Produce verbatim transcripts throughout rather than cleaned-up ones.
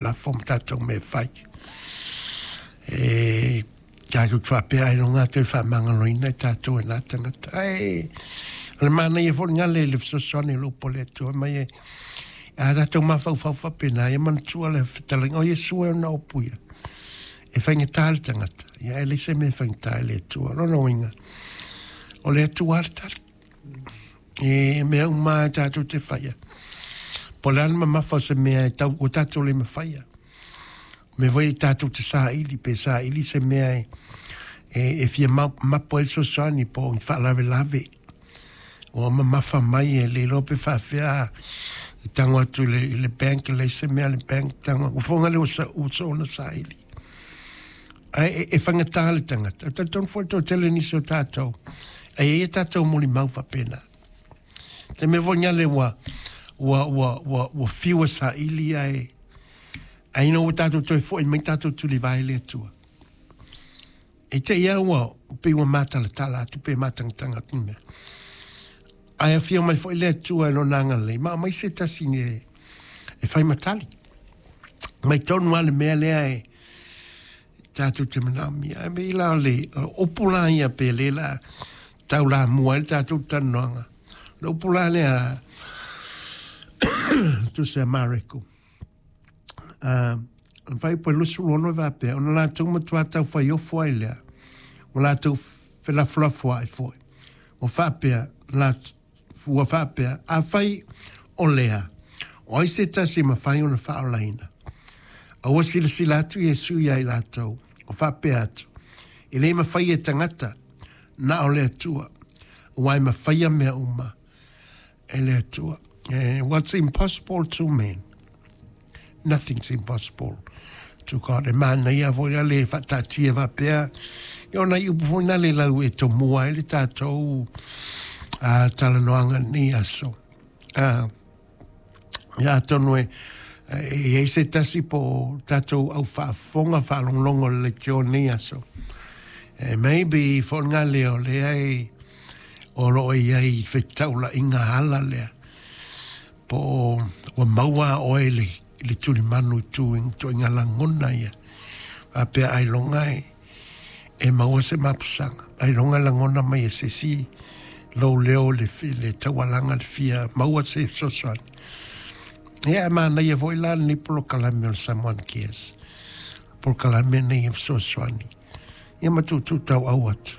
Lafo ma tatou mea e fai. E tatou te faapea ailoga toe faamagaloina i tatou e na tagata. Ae o le manaia foi lena le fesoasoani o le upu a le Atua mai e a tatou mafaufau faapena, ia manatua le fetalaiga o Iesu e ona upu ia. E faigata le tagata, ia e leai se mea e faigata i le Atua. O lona uiga, o le Atua lava le tali. E mea uma lava tatou te faia. Po o le a le mamafa o se mea e tau ua tatou le mafaia. O mea foi e tatou te saili, pe saili se mea e, e, e fia mapo ai le fesoasoani po o ni faalavelave. Ua mamafa mai e le iloa pe faafefea e tago atu i le, i le bank, e leai se mea a le bank, tago, ua fofoga lea ua soona saili. Ae e, e faigata le tagata. E talitonu foi le toatele nisi o tatou, e i ai a tatou molimau faapena. Te mea foi ngale ua, ua, ua, ua, ua fiu e saili ae, ae ina ua tatou toe foi mai tatou tulivae i le Atua. E te i a ua pei ua matalatala atu pe matagataga atu ni mea. Ae afio mai foi le Atua i lona agalelei, ma aumai se tasi e, e fai ma tali. Mai tonu lava le mea lea e tatou te manaomia. Ae pei la o le upu la ia pe le la taulamua ai le tatou talanoaga. O le upu la lea tusi a Mareko. Uh, fuaiupu e luasefulu ono e faapea, ona latou matuā taufaiofo ai lea, ua latou felafolafoa'i foi. Ua faapea, la, ua faapea, afai o lea, o ai se tasi e mafai ona faaolaina? A ua silasila atu Iesu ia i latou, ua faapea atu, e le mafai e tagata, na o le Atua, aua e mafaia mea uma e le Atua. Eh, what's impossible to men, nothing's impossible to God. E manaia foi la le faataatia faapea, ia ona i upu foi na le lau e tomua ai le tatou uh, talanoaga lenei aso. Uh, ia atonu e e i ai se tasi po o tatou au faafofoga faalogologo o le leitio lenei aso. E maybe foi ngā leo lea e o loo i ai fetaulaiga ala lea. Po o ua maua oe le, le tulimanu i tu ituaiga lagona ia. Faapea ailoga e, e maua se mapusaga. Ailoga lagona mai e se isi lou leo le, le taualaga le fia maua se fesoasoani. Ia e manaia foi la lenei polokalame o le Samoan Cares. Polokalame nei e fesoasoani. Ia ma tuutuu tauau atu.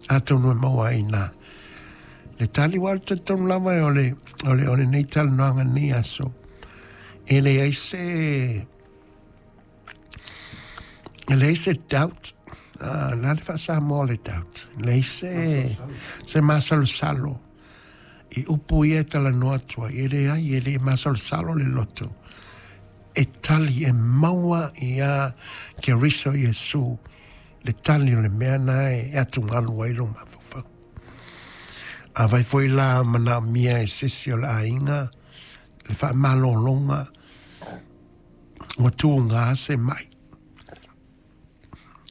Atonu e maua ai nā. Le tali ua le talitonu lava e o le, o le, o lenei talanoaga lenei aso. E leai se, e leai se doubt. Uh, na le faa-Samoa le doubt. E leai se, se masalosalo. I upu ia e talanoa atu ai. E leai, e le masalosalo le loto. E tali e maua ia Keriso Iesu le tali o le mea na e atugalu ai lo mafaufau. Afai foi la manaomia e se isi o le aiga, le faamalologa, ua tuga se mai.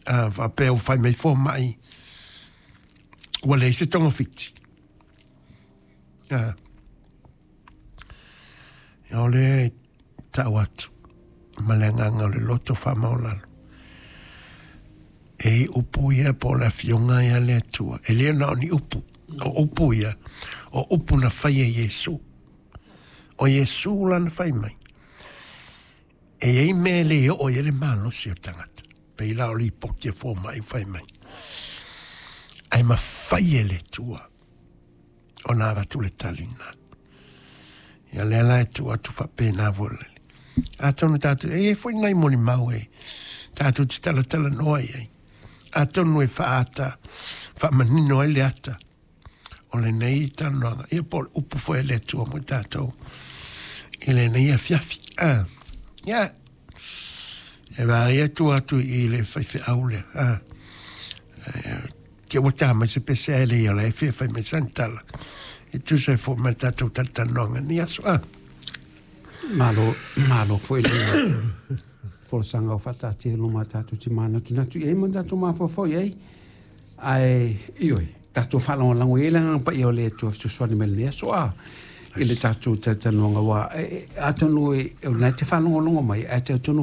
A faapea ua fai mai fomai, ua leai se togafiti. A, o lea e tau atu ma le agaga o le loto faamaualalo. E i upu ia po o le afioga ia le Atua. E le na o ni upu. O upu ia, o upu na fai e Iesu. O Iesu lana fai mai. E i ai mea e le oo i ai le malosi o le tagata. Pei la o lipoti a fomai fai mai. Ae mafai e le Atua ona avatu le tali lena. Ia lea la e tuu atu faapena foi le. Atonu tatou, e i ai foi nai molimau e tatou te talatalanoa i ai. Atonu e faaata, faamanino ai le ata o lenei talanoaga. Ia po o le upu foi a le Atua mo i tatou i lenei afiafi. Ah, ia, e vaai atu atu i le faifeau lea. Ah, te ua tā mai se pese ae le ia la e fia fai mai sana tala. E tusa ai foi ma le tatou talatalanoaga lenei aso. Ah. Malo, malo foi le folasaga o faataatia i luma tatou te manatunatu i ai ma tatou mafaufau i ai. Ae, ioe, tatou faalagolago i ai le agaga paia o le Atua fesoasoani mai lenei aso a i le tatou talatalanoaga aua atonu e, o lena e te faalogologo mai ae talitonu.